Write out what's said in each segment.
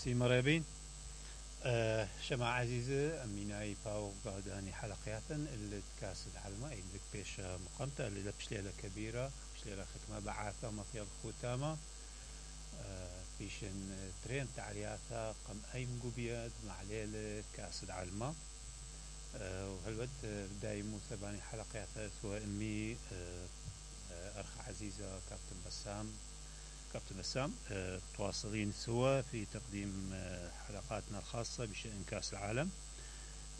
سي مريبين شماعة عزيزة أميناي باو قاداني حلقياتا اللي تكاس العلمة اللي بيش مقامته اللي لبش ليلة كبيرة بش ليلة ختمة بعاثة مطيب خوتامة فيشن ترين تعلياتا قم أي مقوبيات مع ليلة كاس العلمة وهالود بداي موسى باني حلقياتا سواء أمي أرخ عزيزة كابتن بسام تواصلين سوا في تقديم حلقاتنا الخاصة بشأن كأس العالم.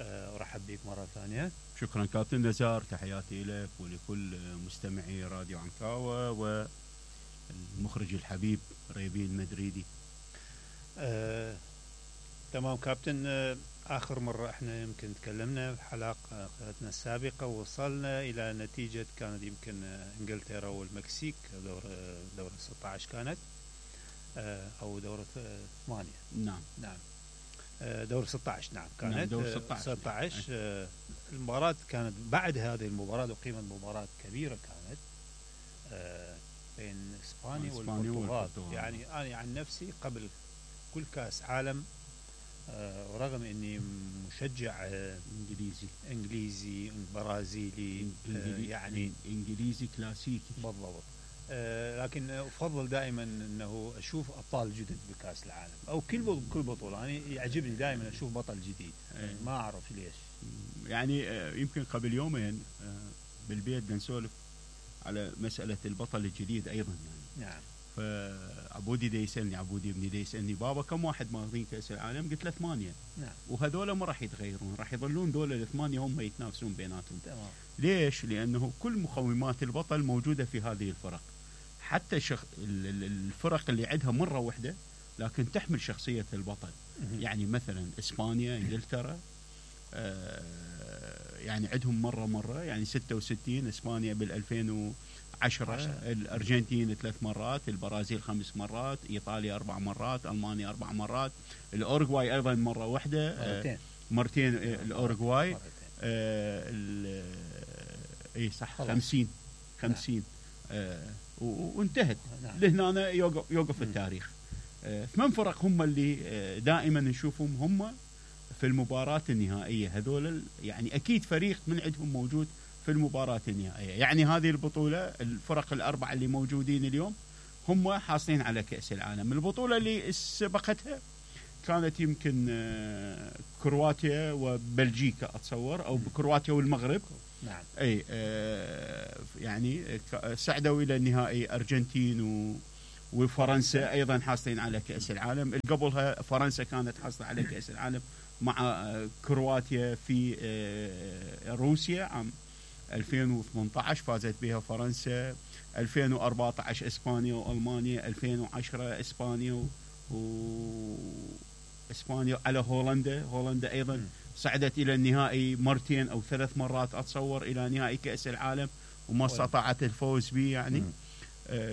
أرحب بك مرة ثانية. شكرا كابتن نزار، تحياتي لك ولكل مستمعي راديو عنكاوة والمخرج الحبيب ريبين المدريدي. تمام كابتن، آخر مرة احنا يمكن تكلمنا في حلقتنا السابقة ووصلنا إلى نتيجة كانت يمكن انجلترا والمكسيك دورة 16 كانت أو دورة 8. نعم دورة 16 نعم كانت دورة 16. المباراة كانت بعد هذه المباراة وقيمة مباراة كبيرة كانت بين إسبانيا والبرتغال. يعني أنا عن نفسي قبل كل كأس عالم ورغم اني مشجع انجليزي برازيلي يعني انجليزي كلاسيكي بالضبط، لكن افضل دائما انه اشوف ابطال جدد بكاس العالم او كل بطوله. يعني يعجبني دائما اشوف بطل جديد، ما اعرف ليش. يعني يمكن قبل يومين بالبيت نسولف على مساله البطل الجديد ايضا يعني. نعم. فعبودي عبودي ابني دي يسألني بابا كم واحد ماخذين كأس العالم؟ قلت له 8. نعم. وهذول ما راح يتغيرون، راح يظلون دول ال8 هم يتنافسون بيناتهم. تمام. ليش؟ لأنه كل مقومات البطل موجودة في هذه الفرق. حتى الفرق اللي عندها مرة واحدة لكن تحمل شخصية البطل. يعني مثلا إسبانيا، إنجلترا يعني عندهم مرة يعني 66، إسبانيا بال2010، الأرجنتين 3 مرات، البرازيل 5 مرات، إيطاليا 4 مرات، ألمانيا 4 مرات، الأورغواي أيضا مرة واحدة، مرتين الأورغواي إيه صح 50 وانتهت. لهنا يوقف التاريخ. 8 فرق هم اللي دائما نشوفهم هم في المباراة النهائية. هذول يعني أكيد فريق من عندهم موجود في المباراة النهائية. يعني هذه البطولة الفرق ال4 اللي موجودين اليوم هم حاصلين على كأس العالم. البطولة اللي سبقتها كانت يمكن كرواتيا وبلجيكا أتصور، أو كرواتيا والمغرب. نعم. أي يعني صعدوا إلى النهائي أرجنتين وفرنسا أيضا حاصلين على كأس العالم. قبلها فرنسا كانت حاصلة على كأس العالم مع كرواتيا في روسيا عام 2018 فازت بها فرنسا، 2014 إسبانيا وألمانيا، 2010 إسبانيا إسبانيا على هولندا أيضا صعدت إلى النهائي مرتين أو 3 مرات أتصور إلى نهائي كأس العالم وما استطاعت الفوز به يعني.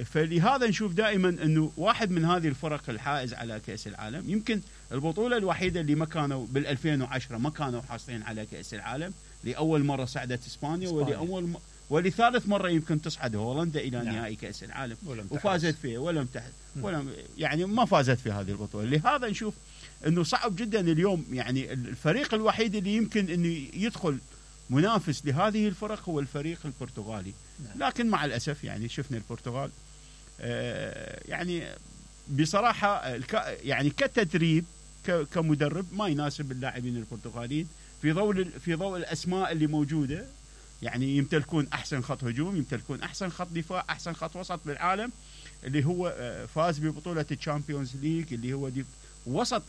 فلهذا نشوف دائما أنه واحد من هذه الفرق الحائز على كأس العالم. يمكن البطولة الوحيدة اللي ما كانوا بال2010 ما كانوا حاصلين على كأس العالم، لأول مرة صعدت إسبانيا ولثالث مرة يمكن تصعد هولندا إلى نهائي كأس العالم وفازت فيه ولم يعني ما فازت في هذه البطولة. لهذا نشوف أنه صعب جدا اليوم. يعني الفريق الوحيد اللي يمكن أنه يدخل منافس لهذه الفرق هو الفريق البرتغالي. لكن مع الأسف يعني شفنا البرتغال يعني بصراحة يعني كتدريب كمدرب ما يناسب اللاعبين البرتغاليين في ضوء الأسماء اللي موجودة. يعني يمتلكون أحسن خط هجوم، يمتلكون أحسن خط دفاع، أحسن خط وسط بالعالم، اللي هو فاز ببطولة الشامبيونز ليج اللي هو وسط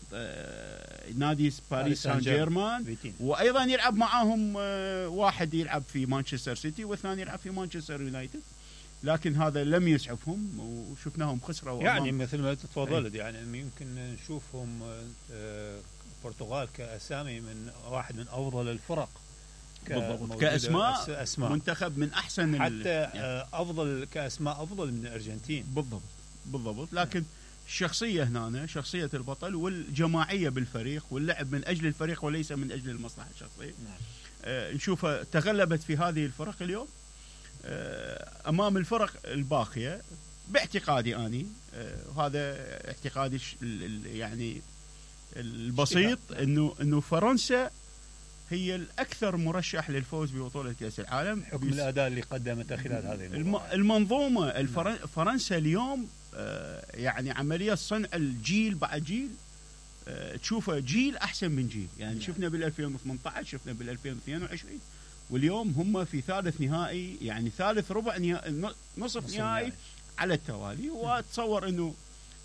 نادي باريس سان جيرمان، وأيضا يلعب معهم واحد يلعب في مانشستر سيتي والثاني يلعب في مانشستر يونايتد. لكن هذا لم يسعفهم وشفناهم خسروا. يعني مثل ما تفضلت يعني يمكن نشوفهم البرتغال كأسامي من واحد من أفضل الفرق كأسماء منتخب من أحسن حتى يعني أفضل كأسماء أفضل من الأرجنتين. بالضبط. لكن الشخصية هنا شخصية البطل والجماعية بالفريق واللعب من أجل الفريق وليس من أجل المصلحة الشخصية. نشوفها تغلبت في هذه الفرق اليوم أمام الفرق الباقية باعتقادي أني، هذا اعتقادي يعني البسيط انه فرنسا هي الاكثر مرشح للفوز ببطوله كاس العالم حكم الاداء اللي قدمته خلال هذه المنظومه. فرنسا اليوم يعني عمليه صنع الجيل بعد جيل، تشوفه جيل احسن من جيل، يعني شفنا بال 2018 شفنا بال 2022 واليوم هم في ثالث نهائي، يعني ثالث ربع نهائي نصف نهائي على التوالي. واتصور انه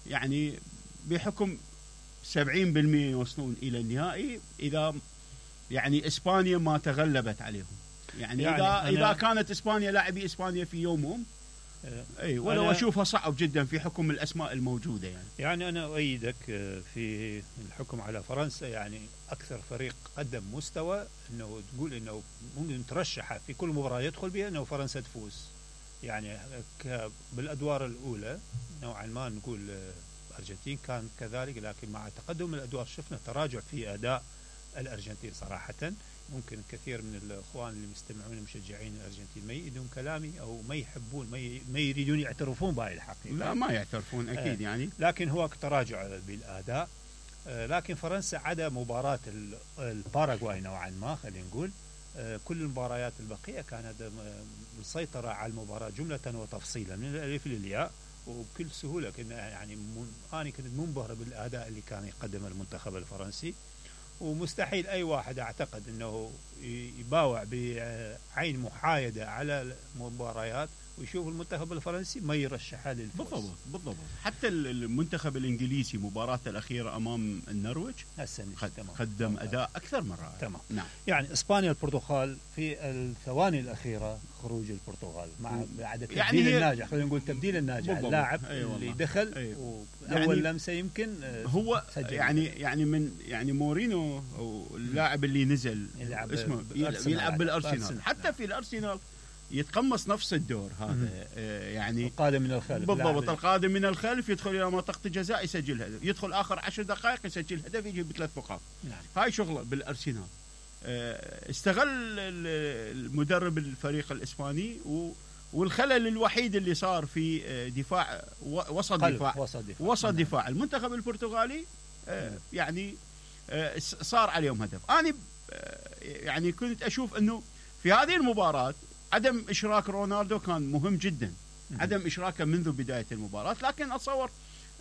يعني بحكم 70% يوصلون الى النهائي اذا يعني اسبانيا ما تغلبت عليهم، يعني اذا كانت اسبانيا لاعبي اسبانيا في يومهم اي ولو اشوفها صعب جدا في حكم الاسماء الموجوده. يعني انا اؤيدك في الحكم على فرنسا، يعني اكثر فريق قدم مستوى انه تقول انه ممكن ترشح في كل مباراه يدخل بها انه فرنسا تفوز. يعني بالادوار الاولى نوعا ما نقول الارجنتين كان كذلك، لكن مع تقدم الادوار شفنا تراجع في اداء الارجنتين صراحه. ممكن كثير من الاخوان اللي مستمعون مشجعين الارجنتين ما يؤيدون كلامي او ما يحبون ما يريدون يعترفون بهاي الحقيقه. لا ما يعترفون اكيد يعني، لكن هو تراجع بالاداء. لكن فرنسا عدا مباراه الباراغواي نوعا ما خلينا نقول كل المباريات البقيه كانت مسيطره على المباراه جمله وتفصيلا من الالف للياء وبكل سهوله. كنا يعني انا كنت منبهر بالاداء اللي كان يقدمه المنتخب الفرنسي، ومستحيل أي واحد أعتقد أنه يباوع بعين محايدة على المباريات ويشوف المنتخب الفرنسي ما يرشحها للفوز. بالضبط. حتى المنتخب الإنجليزي مباراته الأخيرة أمام النرويج قدم أداء أكثر من رائع. تمام. نعم. يعني إسبانيا البرتغال في الثواني الأخيرة خروج البرتغال مع بعد التبديل يعني الناجح، خلينا نقول تبديل الناجح اللاعب اللي دخل أول لمسة يمكن هو يعني من يعني مورينو أو اللاعب اللي نزل اسمه يلعب بالأرسنال. حتى في الأرسنال يتقمص نفس الدور هذا. يعني القادم من الخلف. بالضبط، القادم من الخلف يدخل الى منطقه الجزاء يسجل هدف، يدخل اخر 10 دقائق يسجل هدف يجيب ب3 نقاط. نعم. هاي شغله بالارسنال. استغل المدرب الفريق الاسباني والخلل الوحيد اللي صار في دفاع وسط دفاع المنتخب البرتغالي يعني صار عليهم هدف. انا يعني كنت اشوف انه في هذه المباراه عدم إشراك رونالدو كان مهم جدا، عدم إشراكه منذ بداية المباراة. لكن أتصور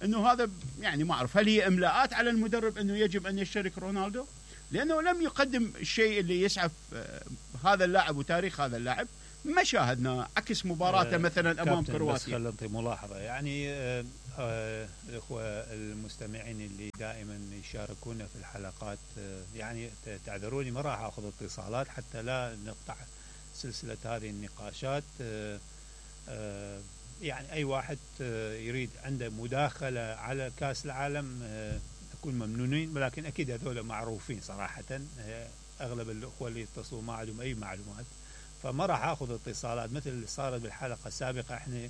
أنه هذا يعني ما أعرف هل هي إملاءات على المدرب أنه يجب أن يشترك رونالدو، لأنه لم يقدم الشيء اللي يسعف هذا اللاعب وتاريخ هذا اللاعب. ما شاهدنا عكس مباراته مثلا أمام كرواتيا. بس خلينا ملاحظة يعني الأخوة المستمعين اللي دائما يشاركونا في الحلقات يعني تعذروني ما راح أخذ اتصالات حتى لا نقطع سلسلة هذه النقاشات. يعني أي واحد يريد عنده مداخلة على كأس العالم نكون ممنونين، ولكن أكيد هذول معروفين صراحة. أغلب الأخوة اللي يتصلوا ما عندهم أي معلومات، فما راح أخذ اتصالات مثل اللي صارت بالحلقة السابقة. إحنا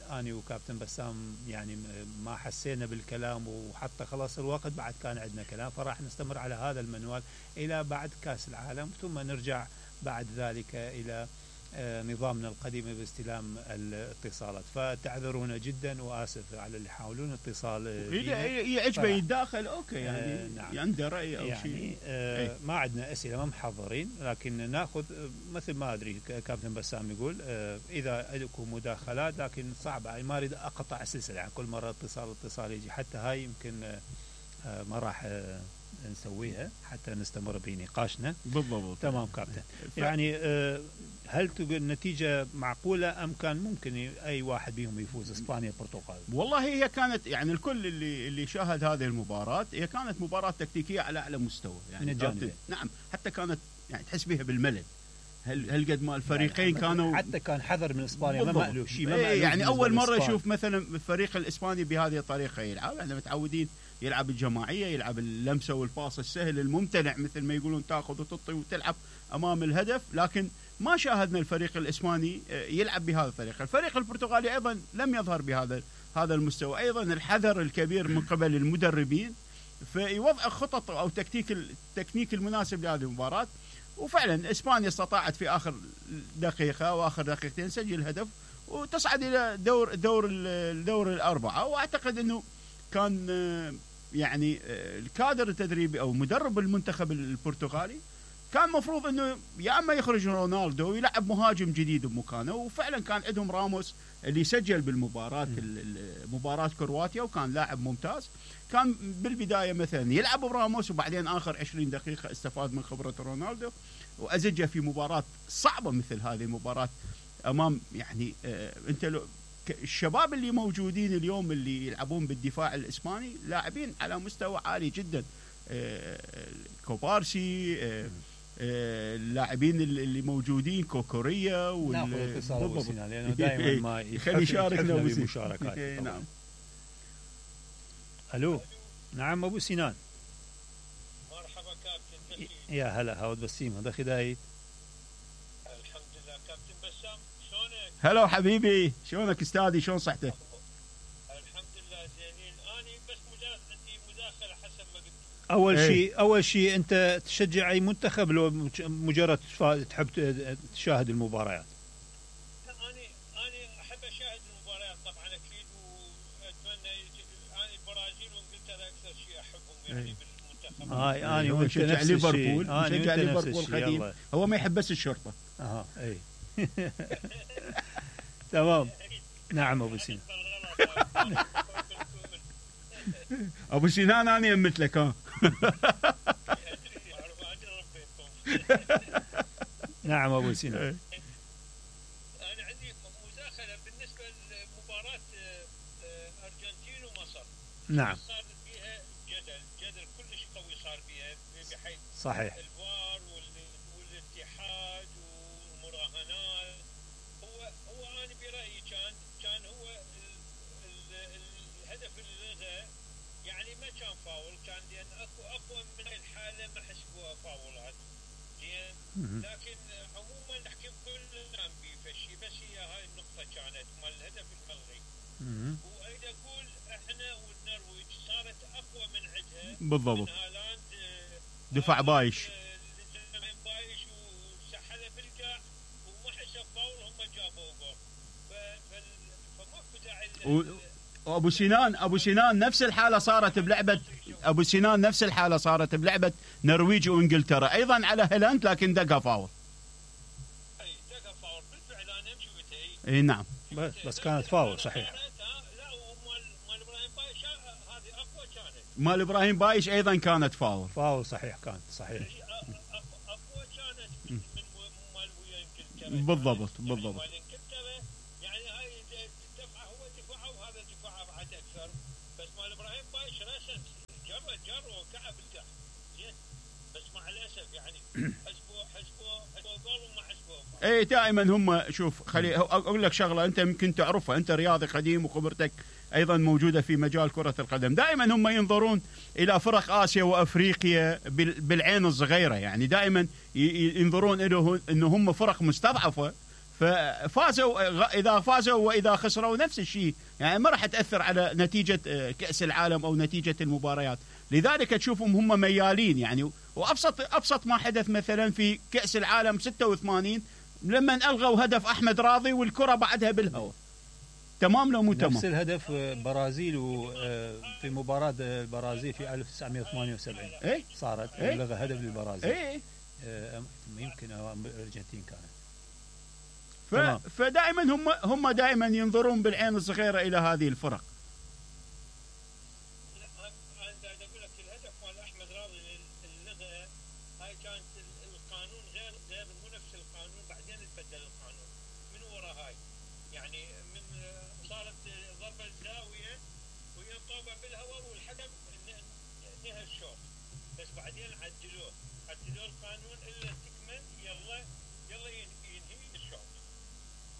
أنا وكابتن بسام يعني ما حسينا بالكلام، وحتى خلاص الوقت بعد كان عندنا كلام، فراح نستمر على هذا المنوال إلى بعد كأس العالم، ثم نرجع بعد ذلك إلى نظامنا القديم باستلام الاتصالات. فتعذرونا جدا وآسف على اللي يحاولون اتصال. إذا يعجبه يتداخل أوكي يعني نعم. عنده رأي أو يعني شيء. ما عندنا أسئلة ما محضرين، لكن ناخذ مثل ما أدري كابتن بسام يقول إذا لكم مداخلات، لكن صعبة ما أريد أقطع السلسلة يعني كل مرة اتصال يجي. حتى هاي يمكن ما راح نسويها حتى نستمر بنقاشنا. بالضبط. تمام كابتن. يعني هل تقول النتيجة معقولة أم كان ممكن أي واحد بيهم يفوز إسبانيا البرتغال؟ والله هي كانت يعني الكل اللي شاهد هذه المباراة هي كانت مباراة تكتيكية على أعلى مستوى يعني من الجانبين. نعم، حتى كانت يعني تحس بها بالملل. هل قد ما الفريقين يعني كانوا حتى كان حذر من إسبانيا ما مألوف شيء يعني أول مرة يشوف مثلا الفريق الإسباني بهذه الطريقة يلعب. احنا متعودين يلعب الجماعية، يلعب اللمسة والباص السهل الممتنع مثل ما يقولون، تاخذ وتطي وتلعب أمام الهدف. لكن ما شاهدنا الفريق الإسباني يلعب بهذه الطريقة. الفريق البرتغالي أيضا لم يظهر بهذا المستوى. أيضا الحذر الكبير من قبل المدربين في وضع خطط أو التكنيك المناسب لهذه المباراة. وفعلا إسبانيا استطاعت في آخر دقيقة وآخر دقيقتين سجل هدف وتصعد إلى دور الأربعة. وأعتقد أنه كان يعني الكادر التدريبي او مدرب المنتخب البرتغالي كان مفروض انه يا اما يخرج رونالدو ويلعب مهاجم جديد بمكانه، وفعلا كان عندهم راموس اللي سجل بالمباراه مباراه كرواتيا وكان لاعب ممتاز. كان بالبدايه مثلا يلعب براموس وبعدين اخر 20 دقيقه استفاد من خبره رونالدو وازجه في مباراه صعبه مثل هذه المباراه امام يعني انت الشباب اللي موجودين اليوم اللي يلعبون بالدفاع الاسباني لاعبين على مستوى عالي جدا. كوبارسي، اللاعبين اللي موجودين كوكوريا ناخذ اتصال ابو سنان لانه دائما ما يخلي يشاركنا بمشاركات. نعم. الو نعم ابو سنان. مرحبا كابتن. يا هلا هاود بسيم هذا خدايت. الحمد لله كابتن بسام شلونك؟ هلا حبيبي شلونك استاذي شلون صحتك؟ الحمد لله زينين. اني بس مجرد عندي مداخله حسب ما قلت. اول شيء انت تشجع اي منتخب لو مجرد تحب تشاهد المباريات؟ اني احب اشاهد المباريات طبعا اكيد، واتمنى اني البرازيل وانجلترا اكثر شيء احبهم يعني بالمنتخب. اني وانت نشجع نفس ليفربول، الشيء. نشجع ليفربول قديم. هو ما يحب بس الشرطه. اي تمام. نعم ابو سنان. ابو سنان انا مثلك ها. نعم ابو سنان. انا عندي مداخله بالنسبه لمباراه ارجنتين ومصر. نعم. صار فيها جدل كلش قوي صار فيها بحيث صحيح. الفار والاتحاد والمراهنات. هو انا برايي كان هو الهدف اللي يعني ما كان فاول، كان لان اكو اقوى من الحاله ما حسبوها فاولات. زين. لكن عموما نحكي كل كان بفشي، بس هي هاي النقطه كانت مال الهدف الملغي. واريد اقول احنا والنرويج صارت اقوى من عندها. بالضبط. من هالاند دفاع بايش. بايش وسحله بالقاع وما حسب فاول، هم جابوا جول. فماكو داعي. ابو سنان نفس الحاله صارت بلعبه ابو سنان نفس الحاله صارت بلعبه نرويج وانجلترا ايضا على هيلاند لكن دقه فاول. اي دقه فاول بالفعل انا شفتها. اي نعم. بس كانت فاول صحيح. لا ومال ابراهيم بايش هذه اقوى كانت. مال ابراهيم بايش ايضا كانت فاول. فاول صحيح كانت صحيح. اقوى كانت من مال ويا انجلترا. بالضبط. اي دائما هم شوف خلي اقول لك شغله انت يمكن تعرفها، انت رياضي قديم وخبرتك ايضا موجوده في مجال كره القدم. دائما هم ينظرون الى فرق اسيا وافريقيا بالعين الصغيره، يعني دائما ينظرون انه هم فرق مستضعفه ففازوا، اذا فازوا واذا خسروا نفس الشيء، يعني ما راح تاثر على نتيجه كاس العالم او نتيجه المباريات. لذلك تشوفهم هم ميالين يعني. وابسط ما حدث مثلا في كاس العالم 86 لما الغوا هدف احمد راضي والكره بعدها بالهواء. تمام لو مو تمام؟ نفس الهدف برازيل في مباراه البرازيل في 1978 ايه صارت لغى هدف للبرازيل. ايه يمكن الارجنتين كانت. فدائما هم دائما ينظرون بالعين الصغيره الى هذه الفرق.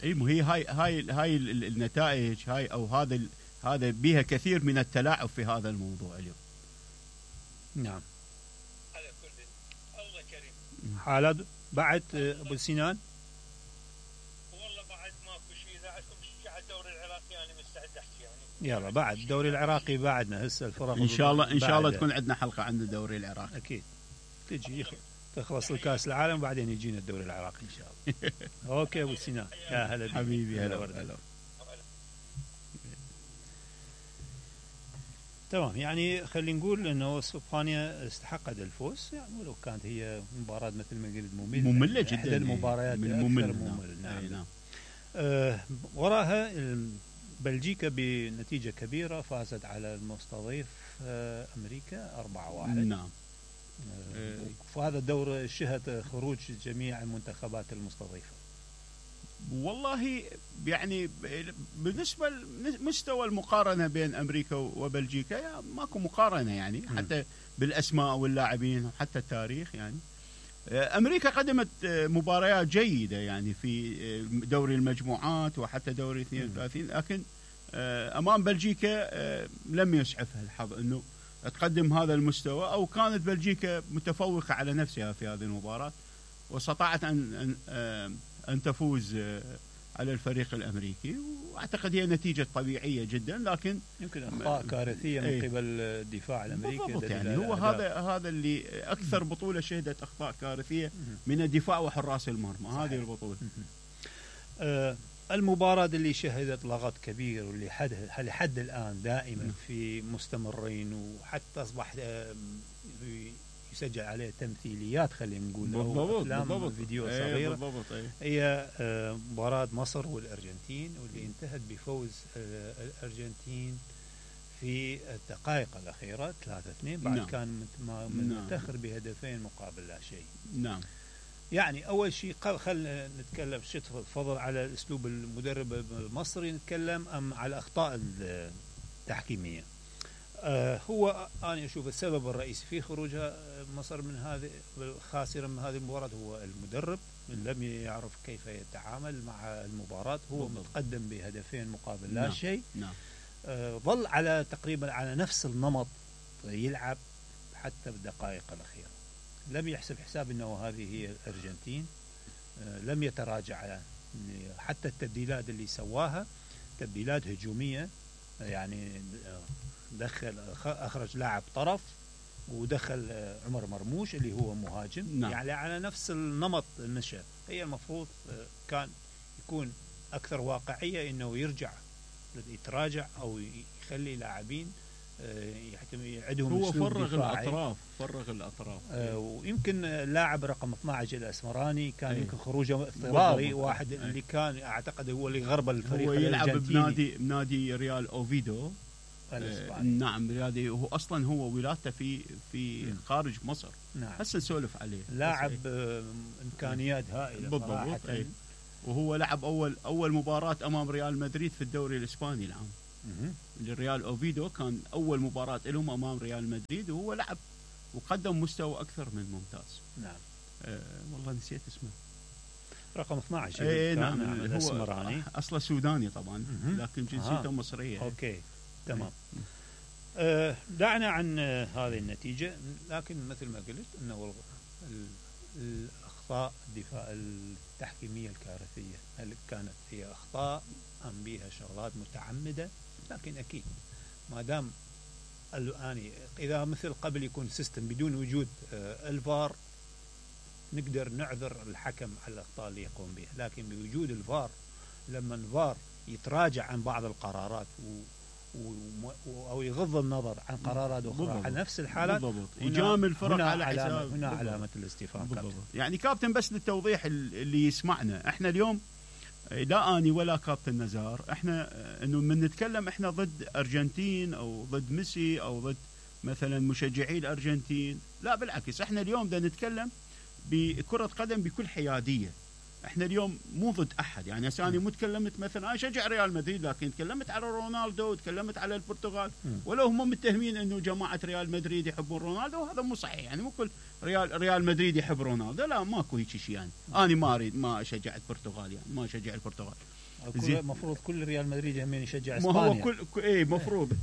اي مو هي هاي النتائج هاي او هذا بها كثير من التلاعب في هذا الموضوع اليوم. نعم. على كل الله كريم. حالات بعد ابو سنان؟ والله بعد ماكو شيء. اذا عندكم شيء على الدوري العراقي انا مستعد احكي يعني. يلا بعد الدوري العراقي بعدنا هسه الفرق ان شاء الله تكون عندنا حلقه عن الدوري العراقي. اكيد تجي تخلص الكاس العالم وبعدين يجينا الدوري العراقي ان شاء الله. اوكي ابو سنان يا هلا حبيبي. هلا. تمام، يعني خلينا نقول انه اسبانيا استحقت الفوز، يعني ولو كانت هي مباراه مثل ما قلت ممله جدا، احدى المباريات من الاكثر ممل. ممل. نعم. نعم. وراها بلجيكا بنتيجه كبيره فازت على المستضيف امريكا 4-1. نعم. وهذا الدور شهد خروج جميع المنتخبات المستضيفه. والله يعني بالنسبه لمستوى المقارنه بين امريكا وبلجيكا يعني ماكو مقارنه، يعني حتى بالاسماء واللاعبين وحتى التاريخ. يعني امريكا قدمت مباريات جيده يعني في دوري المجموعات وحتى دوري 32، لكن امام بلجيكا لم يسعفها الحظ انه تقدم هذا المستوى، او كانت بلجيكا متفوقه على نفسها في هذه المباراه واستطاعت ان تفوز على الفريق الامريكي. واعتقد هي نتيجه طبيعيه جدا، لكن يمكن اخطاء كارثيه من قبل الدفاع الامريكي. بالضبط، يعني هو هذا اللي اكثر بطوله شهدت اخطاء كارثيه من الدفاع وحراس المرمى. هذه البطوله. المباراة اللي شهدت لغط كبير واللي لحد الآن دائما في مستمرين، وحتى أصبح يسجل عليه تمثيليات خلينا نقول، أو أفلام فيديو صغيرة. هي مباراة مصر والأرجنتين، واللي انتهت بفوز الأرجنتين في الدقائق الأخيرة 3-2 بعد كان متأخر بهدفين مقابل لا شيء. نعم. يعني أول شيء خلنا نتكلم تفضل على أسلوب المدرب المصري، نتكلم أم على الأخطاء التحكيمية. هو أنا أشوف السبب الرئيسي في خروجها مصر من هذه الخاسرة من هذه المباراة هو المدرب، لم يعرف كيف يتعامل مع المباراة. هو متقدم بهدفين مقابل لا شيء. ظل على تقريبا على نفس النمط يلعب حتى بالدقائق الأخيرة. لم يحسب حساب أنه هذه هي الأرجنتين. لم يتراجع، حتى التبديلات اللي سواها تبديلات هجومية، يعني أخرج لاعب طرف ودخل عمر مرموش اللي هو مهاجم. يعني على نفس النمط المشى. هي المفروض كان يكون أكثر واقعية، أنه يرجع يتراجع أو يخلي لاعبين يعدهم. هو فرغ الأطراف. ويمكن اللاعب رقم 12 الأسمراني كان يمكن خروجه اضطراري، واحد اللي كان أعتقد هو اللي غرب الفريق. هو يلعب بنادي ريال أوفيدو الإسباني. نعم، رياضي. هو أصلا هو ولادته في خارج مصر. هسه نسولف عليه. لاعب إمكانيات هائلة بالضبط. وهو لعب أول مباراة أمام ريال مدريد في الدوري الإسباني العام. الريال أوفيدو كان أول مباراة لهم أمام ريال مدريد، وهو لعب وقدم مستوى أكثر من ممتاز. نعم. والله نسيت اسمه. رقم 12. نعم. الأسمراني. أصله سوداني طبعا، لكن جنسيته مصرية. أوكي. تمام. دعنا عن هذه النتيجة، لكن مثل ما قلت أنه الأخطاء الدفاع التحكيمية الكارثية، هل كانت هي أخطاء أم بها شغلات متعمدة؟ لكن أكيد ما دام الآن إذا مثل قبل يكون سيستم بدون وجود الفار نقدر نعذر الحكم على الأخطاء اللي يقوم بها، لكن بوجود الفار لما الفار يتراجع عن بعض القرارات أو يغض النظر عن قرارات أخرى على نفس الحالات، يجامل الفرق على حساب. هنا علامة الاستفهام. يعني كابتن بس للتوضيح اللي يسمعنا، احنا اليوم لا اني ولا كابتن نزار احنا انه من نتكلم احنا ضد ارجنتين او ضد ميسي او ضد مثلا مشجعي الارجنتين، لا بالعكس، احنا اليوم بدنا نتكلم بكرة قدم بكل حيادية. احنا اليوم مو ضد احد، يعني انا مو تكلمت مثلا انا اشجع ريال مدريد، لكن تكلمت على رونالدو وتكلمت على البرتغال، ولو هم متهمين انه جماعه ريال مدريد يحبون رونالدو، هذا مو صحيح. يعني مو كل ريال مدريد يحب رونالدو، لا ماكو هيك شيء. يعني انا ما اريد ما اشجع البرتغال، يعني ما اشجع البرتغال. المفروض كل ريال مدريد يهمين يشجع اسبانيا. ما هو كل مفروض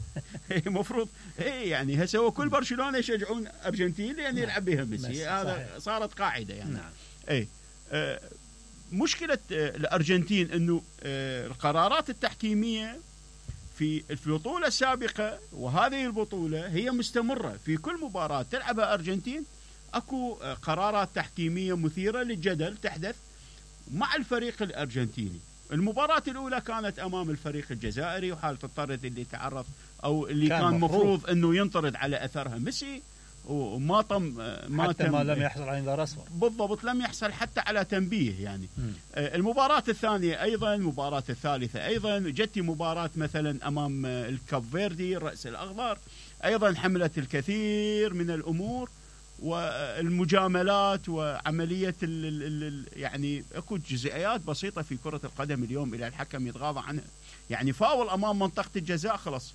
مفروض يعني هسه هو كل برشلونه يشجعون ارجنتين لان يلعب بها ميسي، هذا صارت قاعده يعني. نعم. مشكلة الأرجنتين أنه القرارات التحكيمية في البطولة السابقة وهذه البطولة هي مستمرة في كل مباراة تلعبها أرجنتين. أكو قرارات تحكيمية مثيرة للجدل تحدث مع الفريق الأرجنتيني. المباراة الأولى كانت أمام الفريق الجزائري، وحالة الطرد اللي تعرض او اللي كان مفروض انه ينطرد على اثرها ميسي وما حتى ما لم يحصل على انذار اصفر. بالضبط، لم يحصل حتى على تنبيه يعني. المباراة الثانية ايضا، المباراة الثالثة ايضا، جت مباراة مثلا امام الكاب فيردي الرأس الاخضر، ايضا حملت الكثير من الامور والمجاملات وعملية يعني اكو جزئيات بسيطة في كرة القدم اليوم الى الحكم يتغاضى عنها. يعني فاول امام منطقة الجزاء خلاص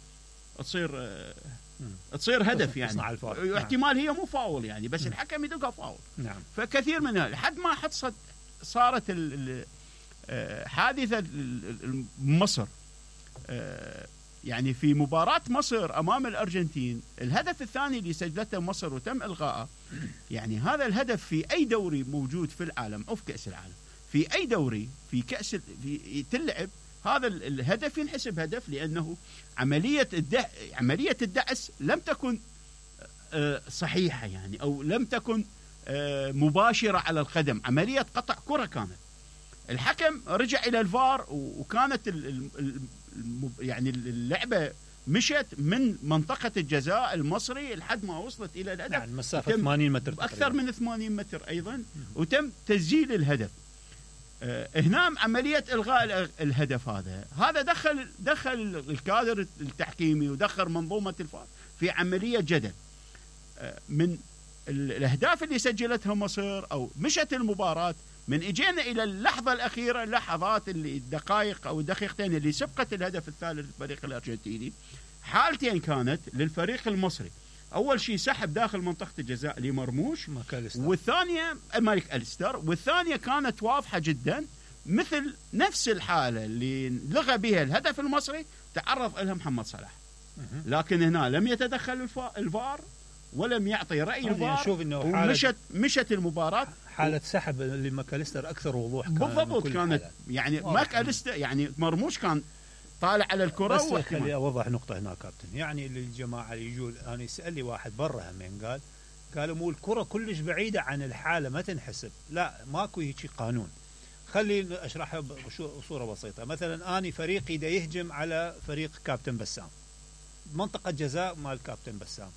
تصير هدف يعني، احتمال هي مو فاول يعني، بس الحكم يدقها فاول. نعم. فكثير منها لحد ما صارت حادثة مصر. يعني في مباراة مصر أمام الأرجنتين، الهدف الثاني اللي سجلته مصر وتم إلغائه، يعني هذا الهدف في أي دوري موجود في العالم أو في كأس العالم، في أي دوري في كأس تلعب هذا الهدف ينحسب هدف، لأنه عملية الدعس لم تكن صحيحة يعني، أو لم تكن مباشرة على القدم، عملية قطع كرة كانت. الحكم رجع إلى الفار وكانت يعني اللعبة مشت من منطقة الجزاء المصري لحد ما وصلت إلى الهدف. نعم، مسافة 80 متر أكثر من 80 متر أيضا، وتم تسجيل الهدف. هنا عملية إلغاء الهدف هذا دخل الكادر التحكيمي ودخل منظومة الفار في عملية جدل. من الأهداف اللي سجلتها مصر أو مشت المباراة، من اجينا الى اللحظه الاخيره، لحظات الدقائق او الدقيقتين اللي سبقت الهدف الثالث للفريق الارجنتيني، حالتين كانت للفريق المصري. اول شيء سحب داخل منطقه الجزاء لمرموش، والثانيه مالك أليستر، والثانيه كانت واضحه جدا مثل نفس الحاله اللي لغى بها الهدف المصري تعرض لها محمد صلاح. لكن هنا لم يتدخل الفار ولم يعطي رأي الفار، ومشت المباراة. حالة سحب لماكاليستر أكثر وضوح بالضبط كانت يعني ماكاليستر يعني مرموش كان طالع على الكرة. بس خلي أوضح نقطة هنا كابتن، يعني الجماعة اللي يجون، أنا يسأل لي واحد برا همين قالوا مو الكرة كلش بعيدة عن الحالة ما تنحسب. لا، ماكو هيك قانون. خلي أشرحها بصورة بسيطة. مثلا أنا فريقي دا يهجم على فريق كابتن بسام، منطقة جزاء مال كابتن بسام.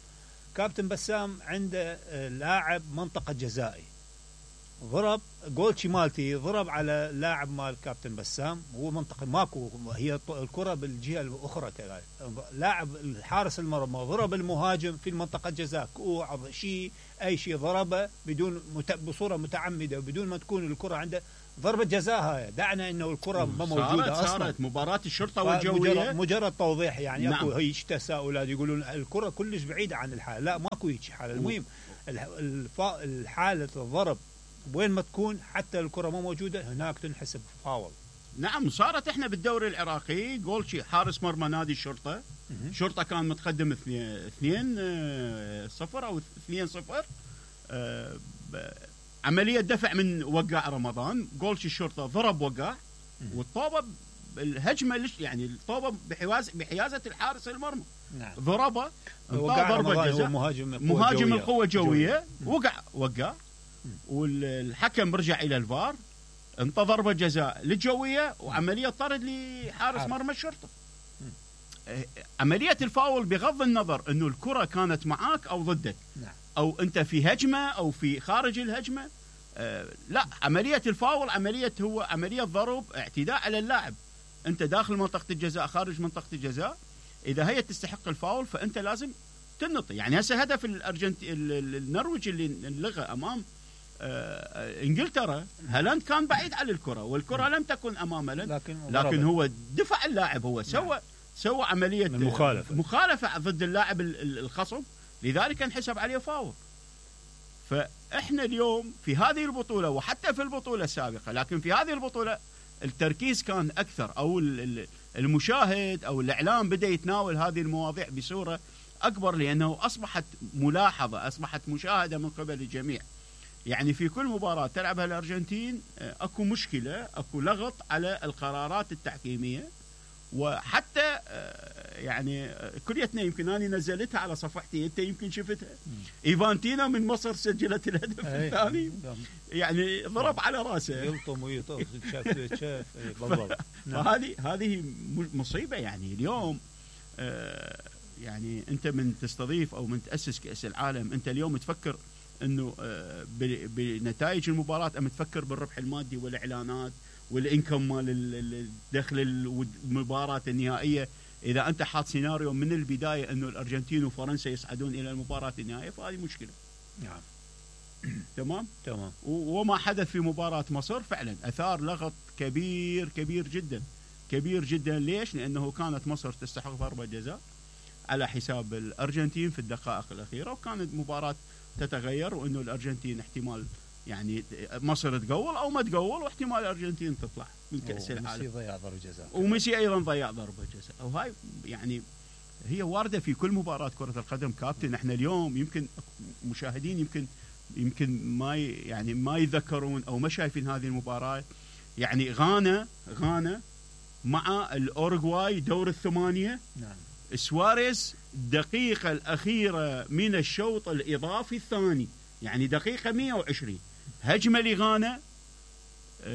كابتن بسام عنده لاعب منطقة جزائي، ضرب جولشي مالتي، ضرب على لاعب مال كابتن بسام، هو منطقة ماكو، هي الكرة بالجهة الأخرى كذلك. لاعب الحارس المرمى ضرب المهاجم في المنطقة جزاء، أي شيء ضربه بصورة متعمدة وبدون ما تكون الكرة عنده ضربة جزاء. هاي دعنا انه الكرة ما موجودة اصلا. صارت مباراة الشرطة والجوية مجرد توضيح يعني. نعم. اكو هيك تساؤلات يقولون الكرة كلش بعيدة عن الحالة. لا، ماكو هيك حالة. المهم الحالة الضرب وين ما تكون، حتى الكرة ما موجودة هناك تنحسب فاول. نعم، صارت احنا بالدوري العراقي جولشي حارس مرمى نادي الشرطة. الشرطة كان متقدم 2-0 او 2-0. عملية دفع من وقاع رمضان، جولشي الشرطة ضرب وقاع، والطوبة الهجمة يعني الطوبة بحيازة الحارس المرمى. نعم. ضربه ضربة جزاء، مهاجم القوة الجوية وقع والحكم رجع إلى الفار، انطى ضربة جزاء للجوية وعملية طرد لحارس مرمى الشرطة. عملية الفاول بغض النظر انه الكرة كانت معاك او ضدك. نعم. او انت في هجمة او في خارج الهجمة. لا، عملية الفاول هو عملية ضرب اعتداء على اللاعب. انت داخل منطقة الجزاء خارج منطقة الجزاء، اذا هي تستحق الفاول فانت لازم تنطي. يعني هسه هدف النرويج اللي لغى امام انجلترا، هالاند كان بعيد عن الكرة والكرة لم تكن امام هالاند، لكن هو دفع اللاعب، هو سوى عملية مخالفة ضد اللاعب الخصم، لذلك انحسب عليه فاول. فإحنا اليوم في هذه البطولة وحتى في البطولة السابقة، لكن في هذه البطولة التركيز كان أكثر، أو المشاهد أو الإعلام بدأ يتناول هذه المواضيع بصورة أكبر، لأنه أصبحت ملاحظة، أصبحت مشاهدة من قبل الجميع. يعني في كل مباراة تلعبها الأرجنتين أكو مشكلة، أكو لغط على القرارات التحكيمية. وحتى يعني كليتنا يمكن أنا نزلتها على صفحتي، أنت يمكن شفتها، إيفانتينا من مصر سجلت الهدف الثاني، يعني ضرب على راسه، يلطم ويطوف شاف بالضبط. هذه مصيبة. يعني اليوم يعني انت من تستضيف او من تاسس كاس العالم، انت اليوم تفكر انه بنتائج المباراه، ام تفكر بالربح المادي والاعلانات والانكم مال الدخل المباراه النهائيه. اذا انت حاط سيناريو من البدايه انه الارجنتين وفرنسا يصعدون الى المباراه النهائيه، فهذه مشكله. نعم. تمام. وما حدث في مباراه مصر فعلا اثار لغط كبير كبير جدا كبير جدا. ليش؟ لانه كانت مصر تستحق ضربه جزاء على حساب الارجنتين في الدقائق الاخيره، وكانت مباراه تتغير، وانه الارجنتين احتمال يعني مصر تقول او ما تقول، واحتمال الارجنتين تطلع من كاس العالم. وميسي ضيع ضربه جزاء، وميسي ايضا ضيع ضربه جزاء. وهاي يعني هي وارده في كل مباراه كره القدم كابتن. احنا اليوم يمكن مشاهدين يمكن ما يتذكرون او ما شايفين هذه المباراه. يعني غانا مع الاوروغواي دور الثمانيه. نعم. سواريز الدقيقه الاخيره من الشوط الاضافي الثاني، يعني دقيقه 120 هجمه لغانا،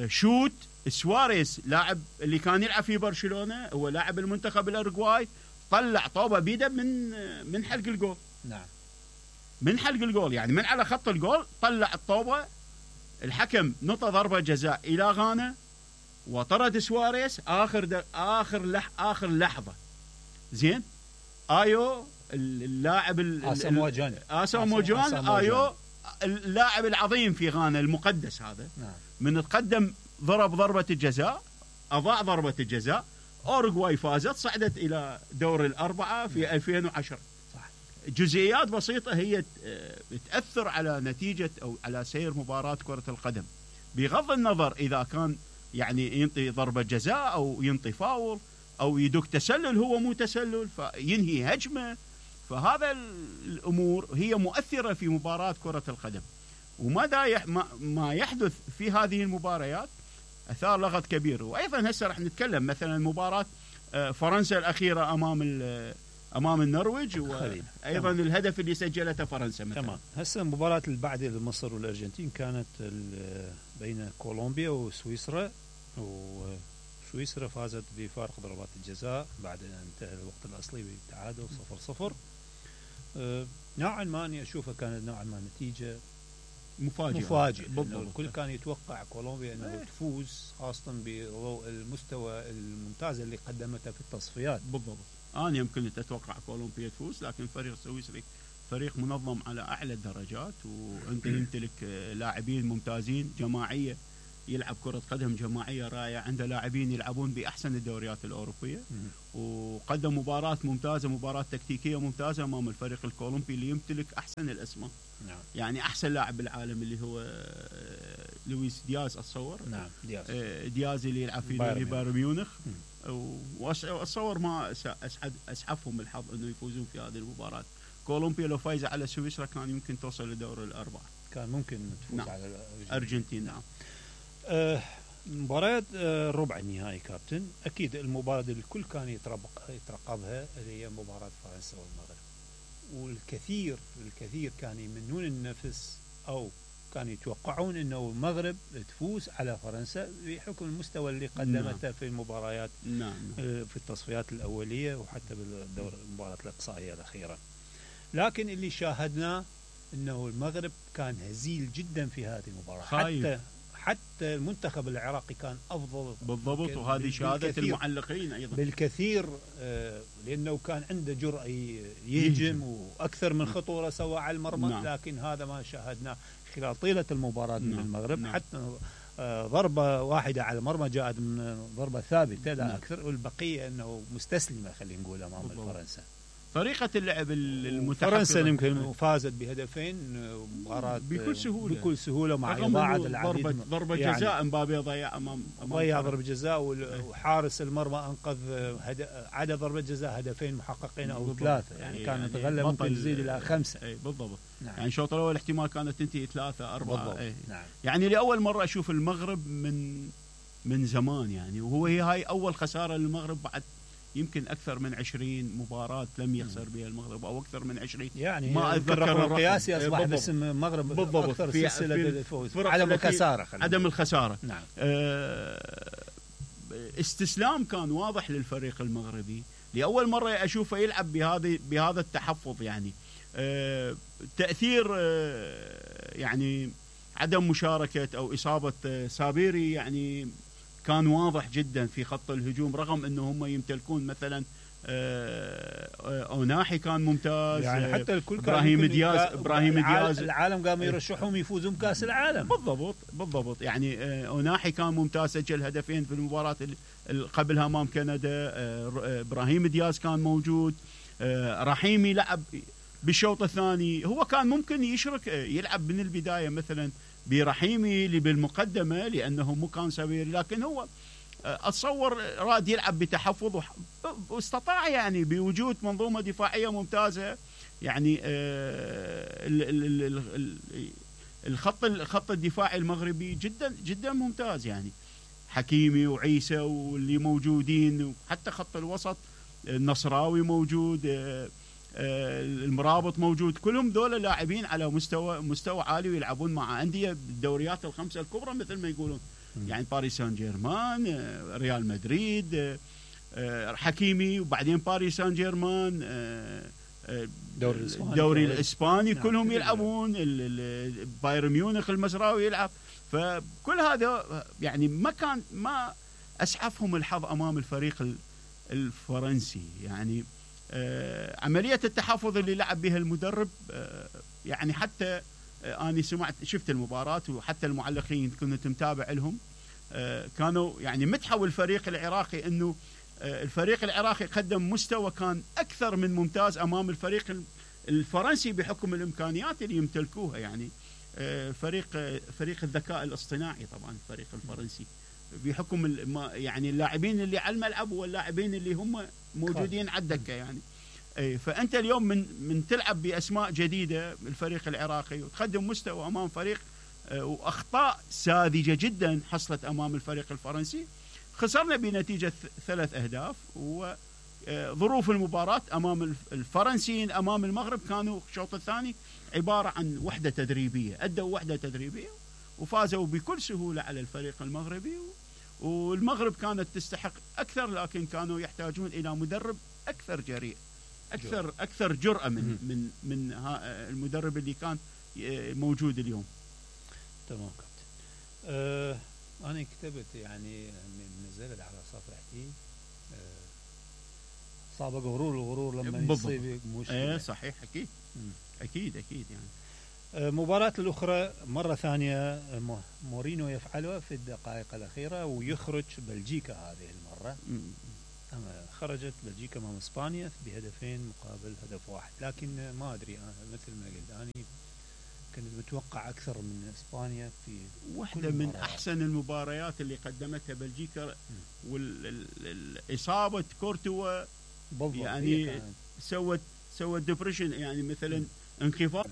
شوت سواريز لاعب اللي كان يلعب في برشلونه، هو لاعب المنتخب الاوروغواي، طلع طوبه بيده من حلق الجول. نعم. من حلق الجول، يعني من على خط الجول طلع الطوبه. الحكم نطى ضربه جزاء الى غانا وطرد سواريز اخر لحظه. زين. ايو اللاعب اساموجان ايو اللاعب العظيم في غانا المقدس هذا. نعم. من تقدم ضرب ضربه الجزاء، اضاع ضربه الجزاء، اوروغواي فازت، صعدت الى دور الاربعه في 2010. صح. جزئيات بسيطه هي تاثر على نتيجه او على سير مباراه كره القدم، بغض النظر اذا كان يعني ينطي ضربه جزاء او ينطي فاول او يدق تسلل، هو مو تسلل فينهي هجمه. فهذا الامور هي مؤثره في مباراه كره القدم. ما يحدث في هذه المباريات اثار لغط كبير. وايضا هسه راح نتكلم مثلا مباراه فرنسا الاخيره امام النرويج، وايضا الهدف اللي سجلته فرنسا مثلا. تمام. هسه المباراه اللي بعد مصر والارجنتين كانت بين كولومبيا وسويسرا، وسويسرا فازت بفارق ضربات الجزاء بعد ان انتهى الوقت الاصلي بالتعادل 0-0. نوعا ما اني اشوفها كانت نوعا ما نتيجه مفاجئه. الكل كان يتوقع كولومبيا انه تفوز، خاصه بضوء المستوى الممتاز اللي قدمته في التصفيات. بالضبط. انا يمكن اتوقع كولومبيا تفوز، لكن فريق سويسري فريق منظم على اعلى الدرجات، وانت يمتلك لاعبين ممتازين، جماعيه، يلعب كرة قدم جماعية رائعة، عنده لاعبين يلعبون بأحسن الدوريات الأوروبية، وقدم مباراة ممتازة، مباراة تكتيكية ممتازة أمام الفريق الكولومبي اللي يمتلك أحسن الأسماء. نعم. يعني أحسن لاعب بالعالم اللي هو لويس دياز أتصور. نعم. دياز اللي يلعب في نادي بايرن ميونخ. وأتصور ما أسعفهم الحظ أنه يفوزون في هذه المباراة. كولومبيا لو فايزة على سويسرا كان يمكن توصل لدور الأربعة، كان ممكن تفوز. نعم. على الأرجنتين. نعم. مباراة ربع النهائي كابتن، أكيد المباراة اللي الكل كان يترقبها اللي هي مباراة فرنسا والمغرب، والكثير كان يمنون النفس أو كانوا يتوقعون أنه المغرب تفوز على فرنسا بحكم المستوى اللي قدمته في المباريات في التصفيات الأولية وحتى بالدور المباراة الإقصائية الأخيرة. لكن اللي شاهدناه أنه المغرب كان هزيل جدا في هذه المباراة، حتى المنتخب العراقي كان أفضل. بالضبط. وهذه شهادة المعلقين أيضا بالكثير، لأنه كان عنده جرأة يهجم وأكثر من خطورة سوى على المرمى. نعم. لكن هذا ما شاهدناه خلال طيلة المباراة. نعم. من المغرب. نعم. حتى ضربة واحدة على المرمى جاءت من ضربة ثابتة لا. نعم. أكثر، والبقية أنه مستسلمة خلينا نقول أمام فرنسا. طريقة اللعب المتحفظة. فرنسا يمكن فازت بهدفين مباراة بكل سهولة مع إضاعة العديد. ضربة جزاء يعني مبابي ضيع ضيع ضربة جزاء، وحارس المرمى أنقذ عدد ضربة جزاء هدفين محققين أو 3، يعني كان يتغلب ممكن تزيد إلى 5. بالضبط. نعم. يعني الشوط الأول احتمال كانت تنتهي 3-4. نعم. يعني لأول مرة أشوف المغرب من زمان، يعني وهو هاي أول خسارة للمغرب بعد يمكن أكثر من 20 مباراة لم يخسر بها المغرب، أو أكثر من 20. يعني ما أتذكر الرقم القياسي أصبح باسم المغرب أكثر سلسلة الفوز. عدم الخسارة. نعم. استسلام كان واضح للفريق المغربي، لاول مره اشوفه يلعب بهذا التحفظ يعني. تاثير يعني عدم مشاركه او اصابه سابيري يعني كان واضح جدا في خط الهجوم، رغم انه هم يمتلكون مثلا اوناحي كان ممتاز، يعني حتى الكل ابراهيم دياز العالم قاموا يرشحهم يفوزون بكاس العالم. بالضبط يعني اوناحي كان ممتاز، سجل هدفين في المباراه اللي قبلها امام كندا. ابراهيم دياز كان موجود، رحيمي لعب بالشوط الثاني. هو كان ممكن يشرك يلعب من البدايه مثلا برحيمي اللي بالمقدمه لانه مو كان سبيري، لكن هو اتصور راد يلعب بتحفظ واستطاع يعني بوجود منظومه دفاعيه ممتازه يعني. الخط الدفاعي المغربي جدا جدا ممتاز يعني. حكيمي وعيسى واللي موجودين، وحتى خط الوسط النصراوي موجود، المرابط موجود، كلهم دول لاعبين على مستوى عالي ويلعبون مع انديه بالدوريات الخمسه الكبرى مثل ما يقولون يعني باريس سان جيرمان، ريال مدريد، حكيمي، وبعدين باريس سان جيرمان، الدوري الاسباني كلهم يلعبون، بايرن ميونخ المزراوي يلعب. فكل هذا يعني ما اسعفهم الحظ امام الفريق الفرنسي يعني. عمليه التحفظ اللي لعب بها المدرب يعني حتى أنا شفت المباراة وحتى المعلقين كنت متابع لهم، كانوا يعني مدحوا الفريق العراقي انه الفريق العراقي قدم مستوى كان اكثر من ممتاز امام الفريق الفرنسي بحكم الامكانيات اللي يمتلكوها يعني. فريق الذكاء الاصطناعي طبعا الفريق الفرنسي بحكم يعني اللاعبين اللي على الملعب واللاعبين اللي هم موجودين على الدكه يعني. فانت اليوم من تلعب باسماء جديده الفريق العراقي وتقدم مستوى امام فريق واخطاء ساذجه جدا حصلت امام الفريق الفرنسي، خسرنا بنتيجه 3 أهداف. وظروف المباراه امام الفرنسيين امام المغرب كانوا الشوط الثاني عباره عن وحده تدريبيه، ادوا وحده تدريبيه وفازوا بكل سهوله على الفريق المغربي. والمغرب كانت تستحق اكثر، لكن كانوا يحتاجون الى مدرب اكثر جريء، اكثر جرأة من المدرب اللي كان موجود اليوم. تمام كابتن. انا كتبت يعني نزلت على صفحتي صعب الغرور لما يصيب مشكله. صحيح اكيد يعني. مباراة الأخرى مرة ثانية مورينو يفعلها في الدقائق الأخيرة ويخرج بلجيكا هذه المرة. خرجت بلجيكا مع إسبانيا بهدفين مقابل هدف واحد، لكن ما أدري أنا مثل ما قلت أنا كنت متوقع أكثر من إسبانيا في واحدة من أحسن المباريات اللي قدمتها بلجيكا. والإصابة كورتوا يعني سوت ديبريشن يعني مثلا انخفاض.